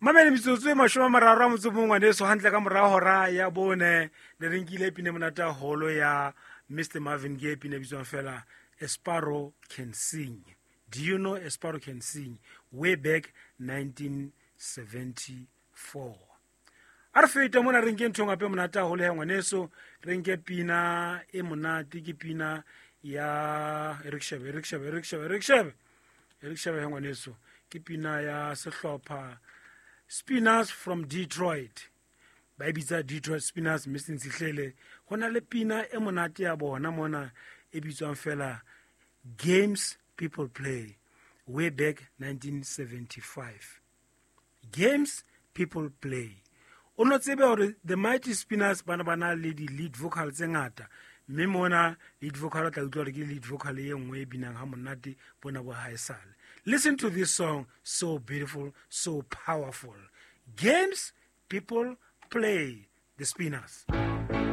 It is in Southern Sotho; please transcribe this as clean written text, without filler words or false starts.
Mamele metsotso e 30 a motso mongwe ngwaneso hantle ka morago hora ya bone ne re nkile pine monate haholo ya Mr Marvin Gaye, pine e bitswang fela A Sparrow Can Sing. Do you know A Sparrow Can Sing? Way back 1974. A re fete mona re nke ntho gape monate haholo ya ngwaneso, re nke pina e monate, ke pina ya e re ke shebe, e re ke shebe, e re ke shebe, e re ke shebe, e re ke shebe ya ngwaneso, ke pina ya sehlopha Spinners from Detroit, ba e bitsa Detroit Spinners, mme se ntshihlele go na le pina e monate ya bona mona e bitswang fela Games People Play, way back 1975. Games People Play. O no tsebe hore the Mighty Spinners ba ne ba na le di-lead vocal tse ngata, mme mona lead vocal o tla utlwa hore ke lead vocal e nngwe e binang ha monate bona bo haesale. Listen to this song, so beautiful, so powerful. Games People Play, the Spinners.